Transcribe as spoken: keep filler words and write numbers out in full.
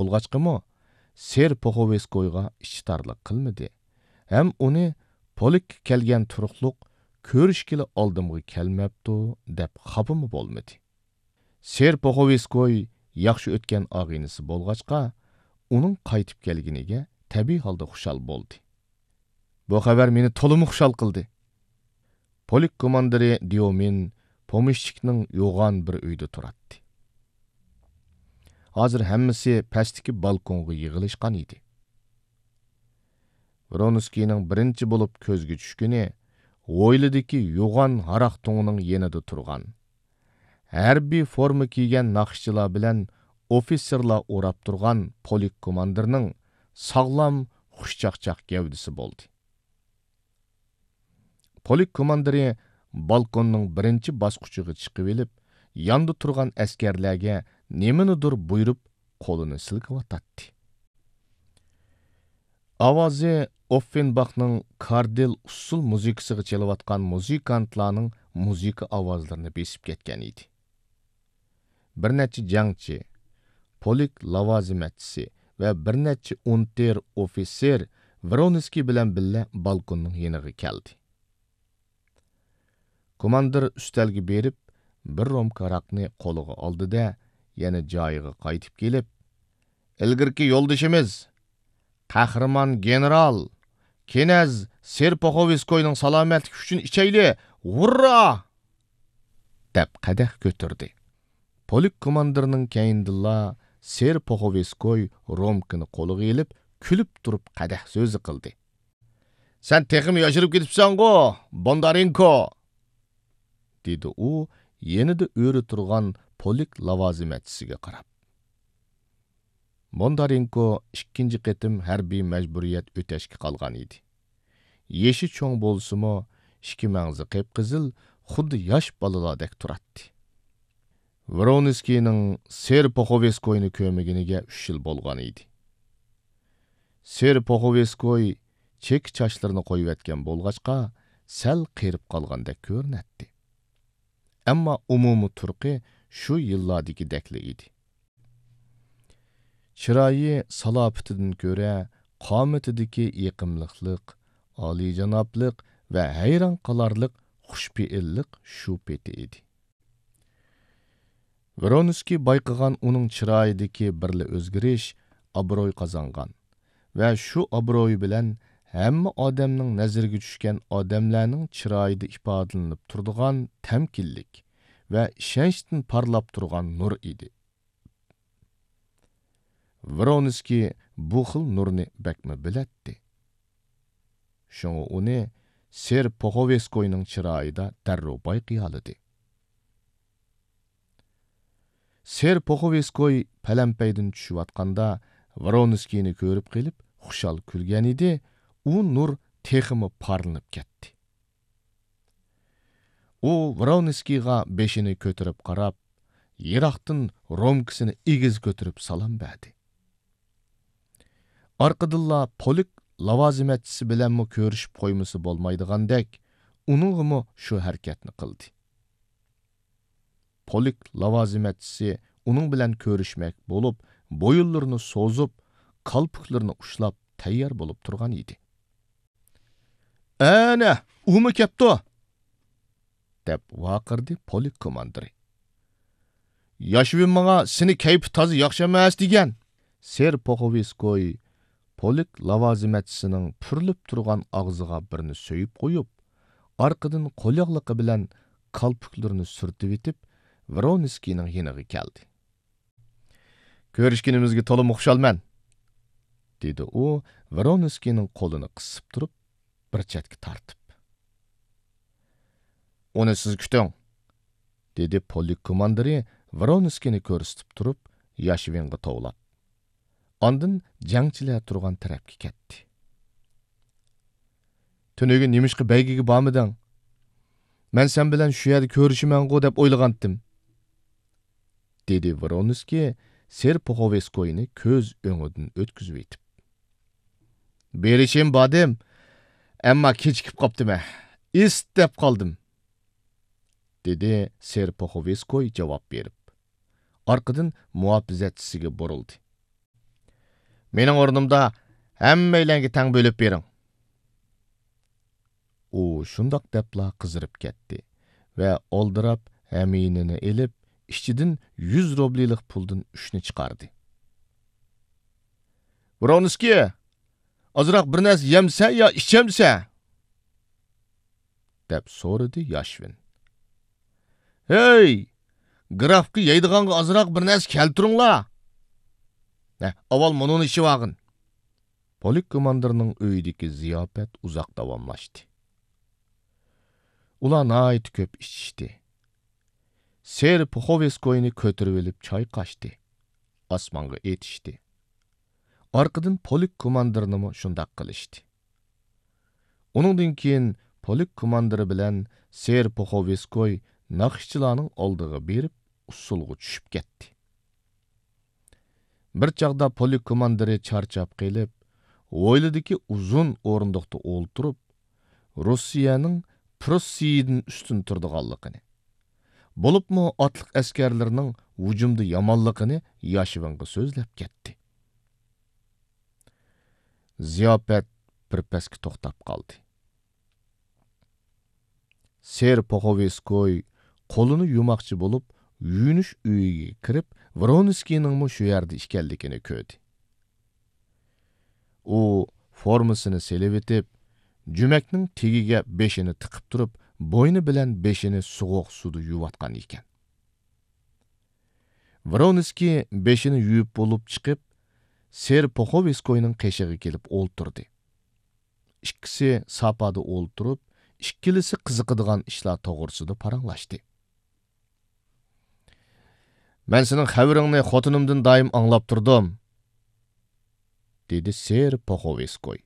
بولغاچقىمۇ، سېر پوخوۋېسكويغا ئىچى تارلىق قىلمىدى ھەم ئۇنى پولك كەلگەن تۇرۇقلۇق كۆرۈشكىلى ئالدىمغا كەلمەپتۇ دەپ خاپىمۇ بولمىدى. سېر پوخوۋېسكوي ياخشى ئۆتكەن ئاغىنىسى بولغاچقا، ئۇنىڭ قايتىپ كەلگىنىگە تەبىئىي ھالدا خۇشال بولدى. بۇ خەۋەر مېنى تولىمۇ خۇشال قىلدى. پولك كوماندىرى ديومىن پومېشچىكنىڭ يوغان بىر ئۆيىدە تۇراتتى. ھازىر ھەممىسى پەستىكى بالكونغا يىغىلىشقان ئىدى. ۋرونسكىينىڭ بىرىنچى بولۇپ كۆزگە چۈشكىنى ھويلىدىكى يوغان ھاراق تۇڭىنىڭ يېنىدا تۇرغان، ھەربىي فورما كىيگەن ناخشىچىلار بىلەن ئوفىتسېرلار ئوراپ تۇرغان پولك كوماندىرنىڭ ساغلام، خۇشچاقچاق گەۋدىسى بولدى. پولك كوماندىرى بالكوننىڭ بىرىنچى باسقۇچىغا چىقىۋېلىپ، ياندا تۇرغان ئەسكەرلەرگە نېمىنىدۇر بۇيرۇپ، قولىنى سىلكىۋاتاتتى. ئاۋازى ئوففېنباخنىڭ كاردىل ئۇسسۇل مۇزىكىسىغا چېلىۋاتقان مۇزىكانتلارنىڭ مۇزىكا ئاۋازلىرىنى بېسىپ كەتكەن ئىدى. بىر نەچچە جەڭچى، پولك لاۋازىمەتچىسى ۋە بىر نەچچە ئۇنتېر ئوفىتسېر ۋرونسكىي بىلەن بىللە بالكوننىڭ يېنىغا كەلدى. كوماندىر ئۈستەلگە بېرىپ، بىر رومكا ھاراقنى قولىغا ئالدى-دە، يەنە جايىغا قايتىپ كېلىپ، «ئىلگىرىكى يولدىشىمىز، قەھرىمان گېنېرال، كىنەز سېرپوخوۋسكوينىڭ سالامەتلىكى ئۈچۈن ئىچەيلى! ھۇررا!» دەپ قەدەھ كۆتۈردى. پولك كوماندىرىنىڭ كەينىدىنلا سېرپوخوۋسكوي رومكىنى قولىغا ئېلىپ، كۈلۈپ تۇرۇپ قەدەھ سۆزى قىلدى. «سەن تېخىمۇ ياشىرىپ كېتىپسەنغۇ، بوندارېنكو!» دېدى ئۇ يېنىدا ئۆرە تۇرغان پولك لاۋازىمەتچىسىگە قاراپ. بوندارېنكو ئىككىنچى قېتىم ھەربىي مەجبۇرىيەت ئۆتەشكە قالغان ئىدى. يېشى چوڭ بولسىمۇ، ئىككى مەڭزى قىپقىزىل، خۇددى ياش بالىلاردەك تۇراتتى. ۋرونسكىينىڭ سېرپوخوۋسكوينى كۆرمىگىنىگە ئۈچ يىل بولغان ئىدى. سېرپوخوۋسكوي چېكە چاچلىرىنى قويۇۋەتكەن بولغاچقا، سەل قېرىپ قالغاندەك كۆرۈنەتتى. ئەمما ئومۇمىي تۇرقى شۇ يىللاردىكىدەكلا ئىدى. چىرايى سالاپىتىدىن كۆرە، قامىتىدىكى يېقىملىقلىق، ئالىيجانابلىق ۋە ھەيران قالارلىق خۇشپېئىللىق شۇ پېتى ئىدى. ۋرونسكىي بايقىغان ئۇنىڭ چىرايىدىكى بىرلا ئۆزگىرىش ئابرۇي قازانغان ۋە شۇ ئابرۇي بىلەن ھەممە ئادەمنىڭ نەزىرىگە چۈشكەن ئادەملەرنىڭ چىرايىدا ئىپادىلىنىپ تۇرىدىغان تەمكىنلىك ۋە ئىشەنچتىن پارلاپ تۇرغان نۇر ئىدى. ۋرونسكىي بۇ خىل نۇرنى بەكمۇ بىلەتتى. شۇڭا ئۇنى سېرپوخوۋسكوينىڭ چىرايىدا دەررۇ بايقىيالىدى. سېرپوخوۋسكوي پەلەمپەيدىن چۈشۈۋاتقاندا، ۋرونسكىينى كۆرۈپ قېلىپ، خۇشال كۈلگەنىدى، ئۇ نۇر تېخىمۇ پارلىنىپ كەتتى. ئۇ ۋرونسكىيغا بېشىنى كۆتۈرۈپ قاراپ، يىراقتىن رومكىسىنى ئېگىز كۆتۈرۈپ سالام بەردى. ئارقىدىنلا پولك لاۋازىمەتچىسى بىلەنمۇ كۆرۈشۈپ قويمىسا بولمايدىغاندەك، ئۇنىڭغىمۇ شۇ ھەرىكەتنى قىلدى. پولك لاۋازىمەتچىسى ئۇنىڭ بىلەن كۆرۈشمەك بولۇپ، بويۇنلىرىنى سوزۇپ، كالپۇكلىرىنى ئۇشلاپ تەييار بولۇپ تۇرغان ئىدى. «ئەنە، ئۇمۇ كەپتۇ!» دەپ ۋارقىرىدى پولك كوماندىرى. «ياشۋىن ماڭا سېنى كەيپى تازا ياخشى ئەمەس دېگەن!» سېرپوخوۋسكوي پولك لاۋازىمەتچىسىنىڭ پۈرۈلۈپ تۇرغان ئاغزىغا بىرنى سۆيۈپ قويۇپ، ئارقىدىن قول ياغلىقى بىلەن كالپۇكلىرىنى سۈرتۈۋېتىپ، ۋرونسكىينىڭ يېنىغا كەلدى. «كۆرۈشكىنىمىزگە تولىمۇ خۇشالمەن!» دېدى ئۇ ۋرونسكىينىڭ قولىنى قىسىپ تۇرۇپ، بىر چەتكە تارتىپ. «ئۇنى سىز كۈتۈڭ!» دېدى پولك كوماندىرى ۋرونسكىينى كۆرسىتىپ تۇرۇپ، ياشۋىنغا توۋلاپ. ئاندىن جەڭچىلەر تۇرغان تەرەپكە كەتتى. «تۈنۈگۈن نېمىشقا بەيگىگە بارمىدىڭ؟ مەن سەن بىلەن شۇ يەردە كۆرۈشىمەنغۇ دەپ ئويلىغانتىم.» دېدى ۋرونسكىي سېرپوخوۋسكوينى كۆز ئۆڭىدىن ئۆتكۈزۈۋېتىپ. «بېرىشىم باردىم، ئەمما كېچىكىپ قاپتىمەن، ئىس دەپ قالدىم.» دېدى سېرپوخوۋسكوي جاۋاب بېرىپ. ئارقىدىن مۇھاپىزەتچىسىگە بۇرۇلدى. مېنىڭ ئورنۇمدا ھەممەيلەنگە تەڭ بۆلۈپ بېرىڭ. ئۇ شۇنداق دەپلا قىزىرىپ كەتتى ۋە ئالدىراپ ھەمىينىنى ئېلىپ، ئىچىدىن يۈز روبلىلىق پۇلدىن ئۈچنى چىقاردى. «ۋرونسكىي، ئازراق بىر نەرسە يەمسە يا ئىچەمسە؟» دەپ سورىدى ياشۋىن. «ھەي، گرافقا يەيدىغانغا ئازراق بىر نەرسە كەلتۈرۈڭلار! ھە، ئاۋۋال مۇنۇنى ئىچىۋالغىن.» پولك كوماندىرنىڭ ئۆيىدىكى زىياپەت ئۇزاق داۋاملاشتى. ئۇلار ناھايىتى كۆپ ئىچىشتى. سېر پوخوۋېسكوينى كۆتۈرۈۋېلىپ چايقاشتى. ئاسمانغا ئېتىشتى. ئارقىدىن پولك كوماندىرنىمۇ شۇنداق قىلىشتى. ئۇنىڭدىن كېيىن پولك كوماندىرى بىلەن سېر پوخوۋېسكوي ناخشىچىلارنىڭ ئالدىغا بېرىپ، ئۇسسۇلغا چۈشۈپ كەتتى. بىر چاغدا پولك كوماندىرى چارچاپ قېلىپ، ھويلىدىكى ئۇزۇن ئورۇندۇقتا ئولتۇرۇپ، روسىيەنىڭ پروسسىيىدىن ئۈستۈن تۇرىدىغانلىقىنى، بولۇپمۇ ئاتلىق ئەسكەرلىرىنىڭ ھۇجۇمدا يامانلىقىنى ياشۋىنغا سۆزلەپ كەتتى. زىياپەت بىر پەسكە توختاپ قالدى. سېر پوخوۋېسكوي قولىنى يۇماقچى بولۇپ، يۇيۇنۇش ئۆيىگە كىرىپ، ۋرونسكىينىڭمۇ شۇ يەردە ئىكەنلىكىنى كۆردى. ئۇ فورمىسىنى سېلىۋېتىپ، جۈمەكنىڭ تېگىگە بېشىنى تىقىپ تۇرۇپ، بوينى بىلەن بېشىنى سوغۇق سۇدا يۇيۇۋاتقان ئىكەن. ۋرونسكىي بېشىنى يۇيۇپ بولۇپ چىقىپ، سېر پوخوۋېسكوينىڭ قېشىغا كېلىپ ئولتۇردى. ئىككىسى ساپادا ئولتۇرۇپ، ئىككىلىسى قىزىقىدىغان ئىشلار توغرىسىدا پاراڭلاشتى. «مەن سېنىڭ خەۋىرىڭنى خوتۇنۇمدىن دائىم ئاڭلاپ تۇردۇم»، دېدى سېر پوخوۋېسكوي.